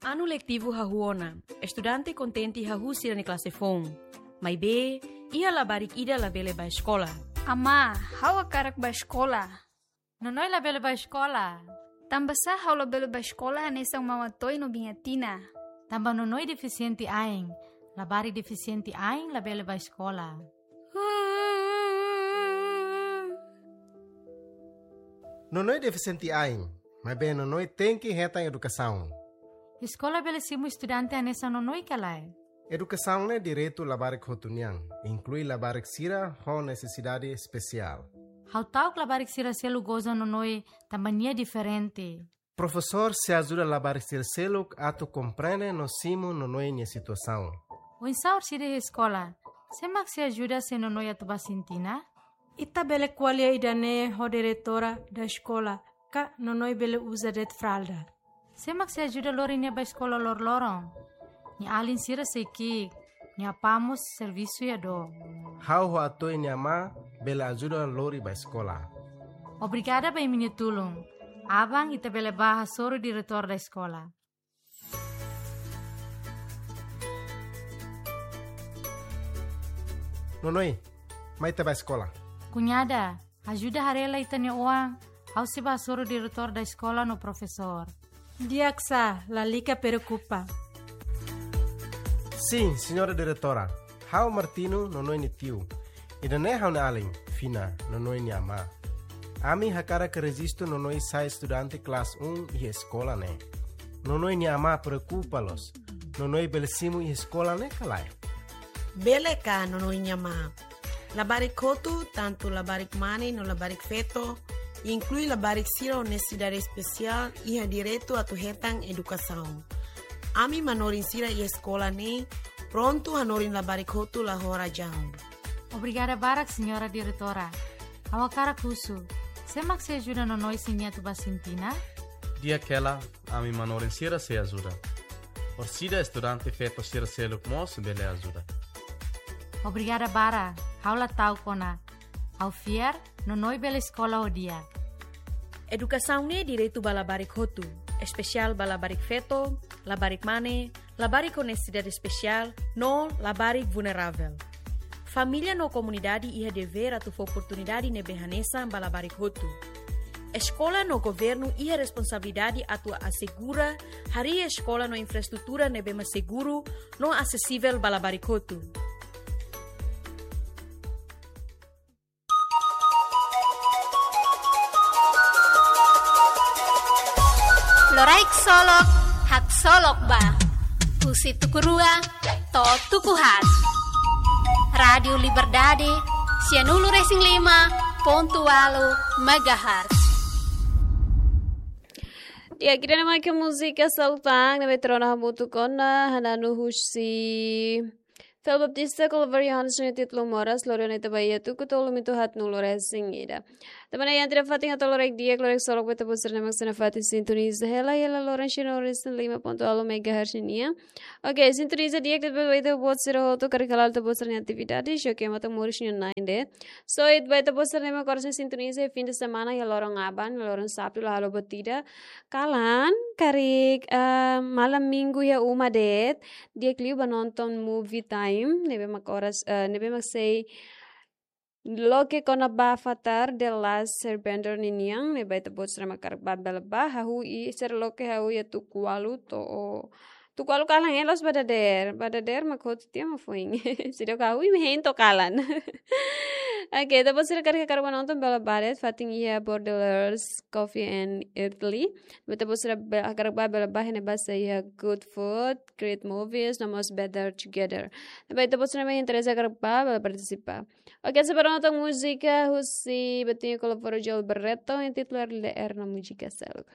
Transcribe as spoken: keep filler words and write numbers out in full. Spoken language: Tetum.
Anu letivu hahú ona, estudante kontente hahú sira-nia klase foun. Maibé, iha labarik ida labele bá eskola. Amá, ha'u hakarak bá eskola. Nonoi labele bá eskola. Tanbasá ha'u labele bá eskola hanesan Mama Toy no Biña Tina? Tanba Nonoi defisiente ain. Labarik defisiente ain labele bá eskola. Nonoi defisiente ain, maibé Nonoi tenke hetan edukasaun. Eskola bele simu estudante hanesan Nonoi ka lae? Edukasaun ne'e direitu labarik hotu nian, inklui labarik sira ho nesesidade espesiál. Ha'u ta'uk labarik sira seluk goza Nonoi tanba nia diferente. Profesór sei ajuda labarik sira seluk atu komprende no simu Nonoi nia situasaun. Oinsá orsida iha eskola? Sé mak sei ajuda se Nonoi atu bá sintina? Ita bele ko'alia ida-ne'e ho diretora da eskola, ka Nonoi bele uza de'it fralda. Sé mak sei ajuda lori nia bá eskola loroloron? Nia alin sira sei ki'ik, nia apá mós servisu iha dook. Ha'u ho Atoy nia amá bele ajuda lori bá eskola. Obrigada ba imi-nia tulun. Aban ita bele bá hasoru diretór da eskola. Nonoi, mai ita bá eskola. Kuñada, ajuda haree lai ita-nia oan, ha'u sei bá hasoru diretór da eskola no profesór. Di'ak sá, lalika preokupa. Sin, señora diretora. Ha'u Martino, Nonoi nia tiu. Ida-ne'e ha'u-nia alin, Fina, Nonoi nia amá. Ami hakarak rejistu Nonoi sai estudante klase un iha eskola ne'e. Nonoi nia amá preokupa loos. Nonoi bele simu iha eskola ne'e ka lae? Bele ka, Nonoi nia amá. Labarik hotu, tantu labarik mane no labarik feto, inklui labarik sira ho nesesidade espesiál, iha direitu atu hetan edukasaun. Ami manorin sira iha eskola ne'e prontu hanorin labarik hotu la ho razaun. Obrigada barak, señora diretora. Ha'u hakarak husu, sé mak sei ajuda Nonoi se nia atu bá sintina? Di'ak hela, ami manorin sira sei ajuda. Orsida estudante feto sira seluk mós bele ajuda. Obrigada barak, ha'u la ta'uk ona. Ha'u fiar, Nonoi bele eskola ho di'ak. Edukasaun ne'e direitu ba labarik hotu, espesiál ba labarik feto, labarik mane, labarik ho nesesidade espesiál, no labarik vulneravel. Família no komunidade iha devér atu fó oportunidade ne'ebé hanesan ba labarik hotu. Eskola no governu iha responsabilidade atu asegura harii eskola no infraestrutura ne'ebé mak seguru no asesivel ba labarik hotu. Loraik solok, haksolok ba. Husi tuku rua to'o tuku haat. Rádiu Liberdade, sianulu resin lima pontu ualu megahertz. Di'ak, ida-ne'e mak múzika Saltang, ne'ebé trono hamutuk ona, hananu husi Fel Baptista, Clover Johannes nia títulu Moras, loron ita ba iha tuku tolu mitu haat nulu resin ida. Tanba ne'e iha fatin hato'o loraik di'ak, loraik solok ba ita-boot sira-ne'e mak sei nafatin sintoniza hela, hela loron sira no resin lima pontu ualu megahertz nian. Oke, sintoniza di'ak de'it ba ita-boot sira hotu karik hala'o ita-boot sira-nia atividade, xoke matan moris nian na'in de'it. So, ita ba ita-boot sira-ne'e mak oras ne'e sintoniza iha fin de semana, iha loron aban, iha loron sábadu, la halo buat ida. Kalan, karik, eh, malam minggu iha uma de'it, di'ak liu ba nonton Movie Time, ne'ebé mak oras, eh, ne'ebé mak sei loke kona-ba Avatar The Last Airbender ninian, ne'ebé ita-boot sira mak hakarak ba bele ba, hahú i sira loke hahú iha tuku ualu to'o, tuku ualu kalan, eh, loos ba dadeer, ba dadeer mak hotu tiha mak foin. Seidauk hahú imi hein to'o kalan. Oke, ita-boot sira karik hakarak ba nonton bele ba de'it, fatin iha Bordelers Coffee and Italy. Ita-boot sira be-, hakarak ba bele ba, iha ne'ebá sei iha good food, great movies, no mós better together. Ne'ebé ita-boot sira mak interese hakarak ba, bele partisipa. Oke, sei ba nonton múzika husi Betinho Colaboro Joel Barreto, intituladu Leer na Múzika Seluk.